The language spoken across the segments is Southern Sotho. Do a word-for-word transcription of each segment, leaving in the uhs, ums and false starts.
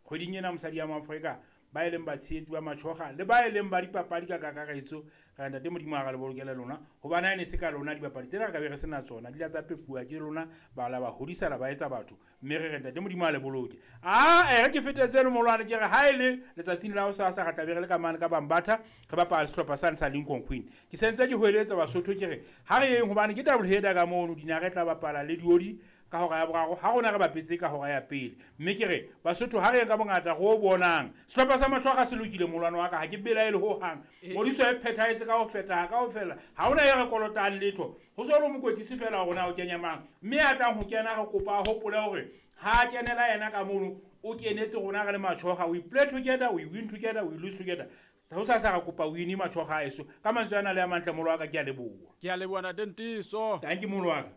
Kgweding ena mosadi ya Moafrika, ba e leng batshehetsi ba Matjhoga le ba e leng ba dipapadi ka kakaretso, re ntate Modimo a re le bolokele lona, hobane ha e ne se ka lona dibapadi tsena re ka be re sena tsona, di la tsa pepuwa ke lona, ba la ba hodisa la ba etsa batho, mme re re ntate Modimo a le boloke. A e re ke fetetse le molwane, ke re ha e le letsatsing la hosasa re tla be re le ka mane ka Bambatha, re bapala sehlopha sane sa Lincoln Queen. Ke sentse ke hoeletsa Basotho ke re ha re yeng, hobane ke double header ka mono, Dinare tla bapala le Diodi ka hora ya boraro, ha rona re bapetse ka hora ya pele. Mme ke re Basotho ha re yeng ka bongata re o bonang sehlopha sa Matjhoga se lokile, molwane wa ka ha ke belaele ho hang. Ngodiso e phethahetse ka ho feta ka ho fela, ha hona e re kolotang letho, ho so le mokwetlisi fela rona o kenya mang, mme a tlang ho kena re kopa a hopole hore ha a kenela yena ka mono o kenetse rona re le Matjhoga. We play together, we win together, we lose together. Ho sa sa re kopa win Matjhoga a eso. Ka mantswe ana le a mantle, molo wa ka, ke a leboha. Ke a leboha ntate Ntiso. Thank you molo wa ka.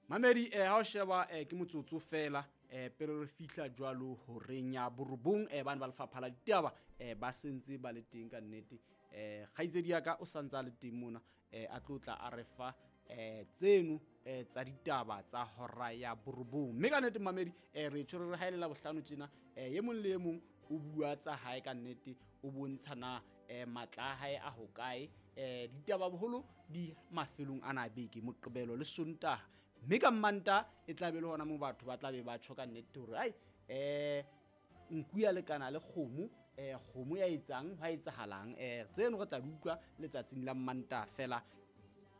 Mamedi, eh, ha o sheba, eh, ke motsotso fela, eh, pele re fihla jwalo horeng ya borobong, eh, bana ba lefapha la ditaba, eh, ba sentse ba le teng ka nnete. Eh, kgaitsedi ya ka o santse a le teng mona, eh, a tlo tla a re fa, eh, tseno, eh, tsa ditaba tsa hora ya borobong. Mme ka nnete mamedi, eh, re tshwere re haelela bohlano tjena, eh, e mong le e mong o bua tsa hae ka nnete, o bontsha na, eh, matla a hae a hokae. Eh, ditaba boholo di mafelong ana a beke, Moqebelo le Sontaha. Mme ka Mmantaha e tla be le hona moo batho ba tla be ba tjho ka nnete hore, ai, eh, nku ya lekana le kgomo, eh, kgomo ya etsang, hwa etsahalang. Eh, tseno re tla di utlwa letsatsing la Mmantaha fela.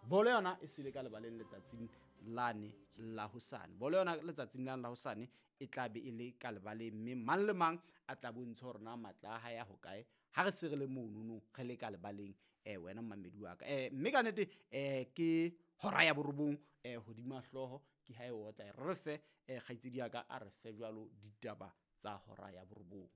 Bolo yona e sele ka lebaleng letsatsing lane la hosane. Bolo yona letsatsing lane la hosane e tla be e le ka lebaleng, mme mang le mang a tla bontsha hore na matla a hae a hokae. Ha re se re le monono, re le ka lebaleng, eh, wena mmamedi wa ka. Eh, mme ka nnete, eh, ke hora ya borobong, eh, hodima hlooho ke ha e otla. Re re fe, eh, kgaitsedi ya ka a re fe jwalo ditaba tsa hora ya borobong.